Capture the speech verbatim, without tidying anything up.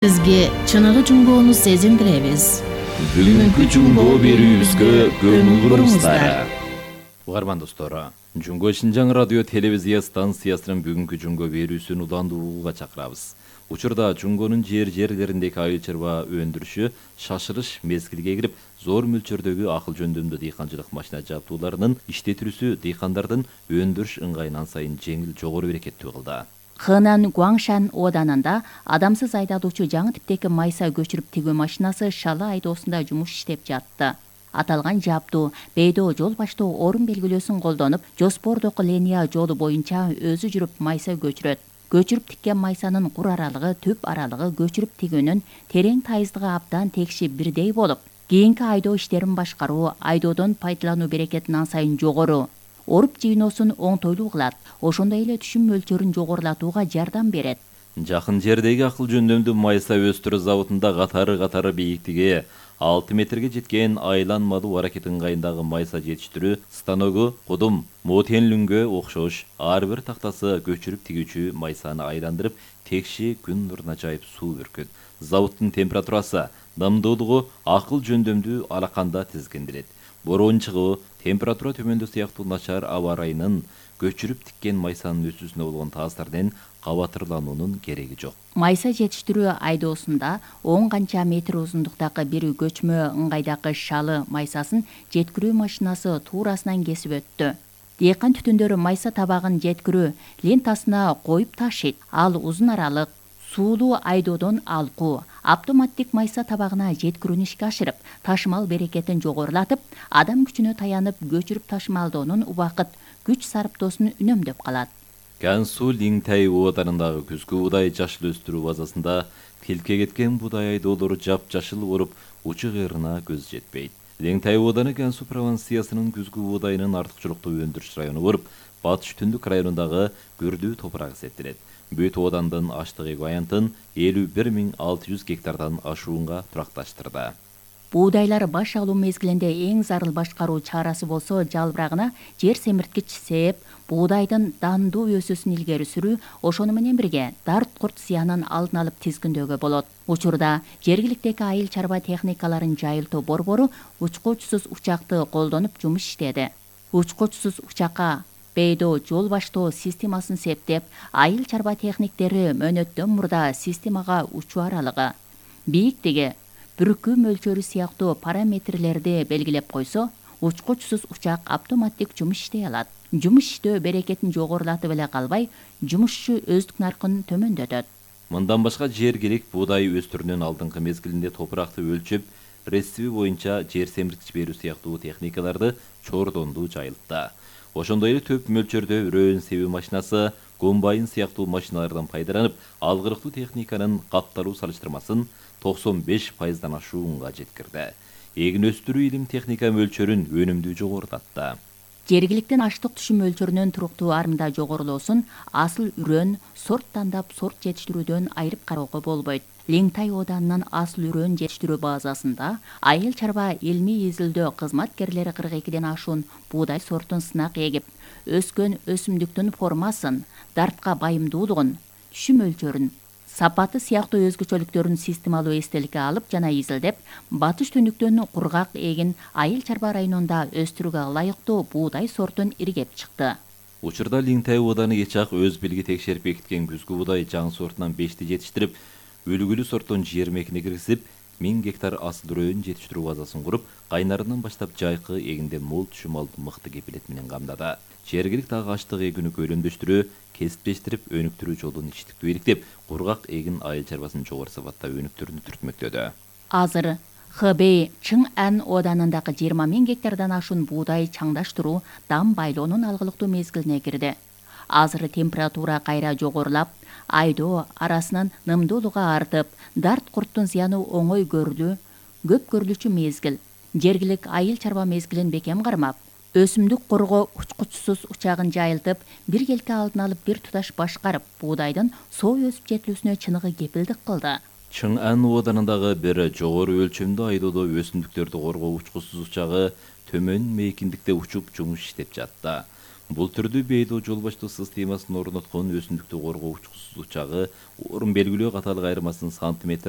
Сизге чыныгы жумгоону сезиндиребиз. Бүгүнкү жумгоо берүүбүзгө көңүл буруңуздар. Угарман достор, Жумгоо Шинжаң радио телевизия станциясынын бүгүнкү жумгоо берүүсүн уландуу угууга чакырабыз. Учурда жумгонун жер жерлериндеги айыл чарба өндүрүшү шашырыш мезгилге кирип, зор мөлчөрдөгү акыл жөндөмдүү дыйканчылык машина жабдууларынын иштетилүүсү дыйкандардын өндүрүш ыңгайын ансайын жеңил, жогору берекеттүү кылды. Хэнан Гуаңшан ооданында адамсыз айдоочу жаңы типтеги майса көчүрүп тигүү машинасы Шалы айдоосунда жумуш иштеп жатты. Аталган жабдуу Бейдо жол баштоо орун белгилөөсүн колдонуп, Жоспордогу линия жолу боюнча өзү жүрүп майса көчүрөт. Көчүрүп тиккен майсанын кур аралыгы, түп аралыгы көчүрүп тигүүнүн терең тайыздыгы абдан текши бирдей болуп, кийинки айдоо иштерин башкаруу, айдоодон пайдалануу берекетин ансайын жогору. Оруп жыйноосун оңтойлуу кылат, ошондой эле түшүм мөлчөрүн жогорулатууга жардам берет. Жакын жердеги акыл жөндөмдүү майса өстүрүү заводунда катары-катары бийиктиги алты метрге жеткен айланмалуу аракет ыңгайындагы майса жетиштирүү станогу кудум мотенлүнгө окшош ар бир тактасы көчүрүп тигүүчү майсаны айландырып, текши күн нуруна жайып суу бүркөт. Заводдун температурасы, дымдуулугу акыл жөндөмдүү алаканда тизгиндирет. Бороон чыгуу, температура төмөндөө сыяктуу начар аба ырайынын көчүрүп тиккен майсанын өсүүсүнө болгон таасирден кабатырлануунун кереги жок. Майса жетиштирүү айдоосунда он канча метр узундуктагы бир көчмө ыңгайдагы Шалы майсасын жеткирүү машинасы туурасынан кесип өттү. Дыйкан түтүндөрү майса табагын жеткирүү лентасына коюп ташыйт. Ал узун аралык суулуу айдоодон алкуу, автоматтик майса табагына жеткирүүнү ишке ашырып, ташымал берекетин жогорулатып, адам күчүнө таянып көчүрүп ташымалоонун убакыт, күч сарптоосун үнөмдөп калат. Гансу Лиңтай ооданындагы күзгү буудай жашыл өстүрүү базасында тилке кеткен буудай айдоолору жап-жашыл болуп, учу кырына көз жетпейт. Лиңтай ооданы Гансу провинциясынын күзгү буудайынын артыкчылыктуу өндүрүш району болуп, батыш түндүк районундагы күрдүү топурак эсептелет. Бүт оодандын аштык эквивалентин элүү бир миң алты жүз гектардан ашуунга туракташтырды. Буудайлар баш алуу мезгилинде эң зарыл башкаруу чарасы болсо, жалбырагына жер семирткич сээп, буудайдын дандуу өсүүсүн илгери сүрүү, ошону менен бирге дарт курт зыянын алдын алып тизгиндөөгө болот. Учурда жергиликтеги айыл чарба техникаларын жайылтуу борбору учкучсуз учакты колдонуп жумуш иштеди. Учкучсуз учакка Бейдо жол баштоо системасын септеп, айыл чарба техниктери мөөнөттөн мурда системага учуу аралыгы, бийиктиги, бүркүү мөлчөрү сыяктуу параметрлерди белгилеп койсо, учкучсуз учак автоматтик жумуш иштей алат. Жумуш иштөө берекетин жогорулатып эле калбай, жумушчу өздүк наркын төмөндөтөт. Мындан башка жергилик буудай өстүрүүнүн алдыңкы мезгилинде топуракты өлчөп, рецепи боюнча жер семирткич берүү сыяктуу техникаларды чордондуу жайылтты. Ошондой эле төп мөлчөрдө өрөөн себүү машинасы, комбайн сыяктуу машиналардан пайдаланып, алгырыктуу техниканын капталуу салыштырмасын токсон беш пайыздан ашуунга жеткирди. Эгин өстүрүү илим техника мөлчөрүн өнүмдүү жогорулатты. Жергиликтин аштык түшүм мөлчөрүнүн туруктуу арында жогорулоосун асыл үрөөн, сорт тандап сорт жетиштирүүдөн айырып кароого болбойт. Лиңтай ооданынын асыл үрөөн жетиштирүү базасында айыл чарба илмий изилдөө кызматкерлери кырк экиден ашуун буудай сортун сынак эгип, өскөн өсүмдүктүн формасын, дартка байымдуулугун, түшүм мөлчөрүн, сапаты сыяктуу өзгөчөлүктөрүн системалуу эстеликке алып жана изилдеп, батыш түндүктөн кургак эгин айыл чарба районунда өстүрүүгө ылайыктуу буудай сортун иргеп чыкты. Учурда Лиңтай ооданы Ечак өз билги текшерип бекиткен күзгү буудай жаңы сортунан бешти жетиштирип, үлгүлүү сорттон жыйырма экини киргизип, миң гектар асыл үрөөн жетиштирүү базасын куруп, кайнарынан баштап жайкы эгинде мол түшүм алып мыкты кепилет менен камдады. Жергилик дагы аштык эгүүнү көлөмдөштүрүү, кесиптештирип, өнүктүрүү жолун ичтиктүү иликтеп, кургак эгин айыл чарбасын жогору сапатта өнүктүрүүнү түртмөктөдү. Азыр Хэбэй Чыңан ооданындагы жыйырма миң гектардан ашуун буудай чаңдаштыруу, дам байлоонун алгылыктуу мезгилине кирди. Азыр температура кайра жогорулап, айдоо арасынын нымдуулугу артып, дарт курттун зыяны оңой көрүлүү, көп көрүлүүчү мезгил. Жергилик айыл чарба мезгилин бекем кармап, өсүмдүк коргоо учкучсуз учагын жайылтып, бир келке алдын алып бир туташ башкарып, буудайдын соо өсүп жетилүүсүнө чыныгы кепилдик кылды. Чыңан ооданындагы бир жогору өлчөмдүү айдоодо өсүмдүктөрдү коргоо учкучсуз учагы төмөн мейкиндикте учуп жумуш иштеп жатты. Бул түрдүү бейдоо жол баштоо системасын орноткон өсүмдүктү коргоо учкучсуз учагы орун белгилөө катарлык айырмасын сантиметр